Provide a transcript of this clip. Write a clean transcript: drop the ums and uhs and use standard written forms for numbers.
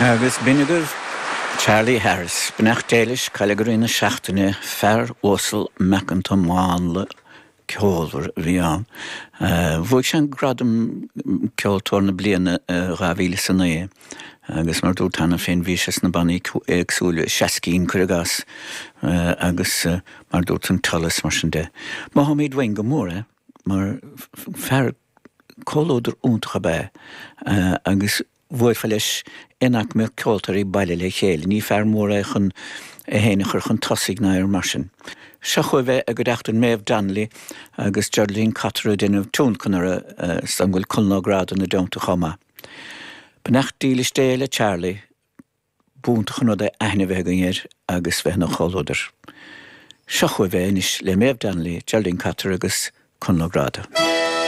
Agus b'in agaibh Charlie Harris. Beannacht Dé leis, cailleadh i rith na seachtaine, fear uasal meacanta mánla ceolmhar a bhí ann. Bhuaigh sé an gradam Ceoltóir na Bliana i 2009 agus mar a dúrt cheana féin bhí sé sna bannaí éagsúla, Seascín cuir i gcás, agus mar a dúrt an Tullas mar sin de. Mothaímid uainn go mór é mar fear Comhluadar iontach ab ea é agus bhuailfeá leis in aicme ceoltóirí baile le chéile. Ní fear mór é chun é féin a chur chun tosaigh ná aon rud mar sin. Seo chugaibh é i gcuideachta Méabh Donnelly agus Geraldine Cotter ag déanamh tionlacan orthu is an bhfuil Conall Ó Gráda ina dteannta chomh maith. Beannacht dílis Dé le Charlie. B'iontach an rud é aithne a bheith againn air agus bheith ina chomhluadar. Seo chugaibh é anois le Méabh Donnelly, Geraldine Cotter agus Conall Ó Gráda.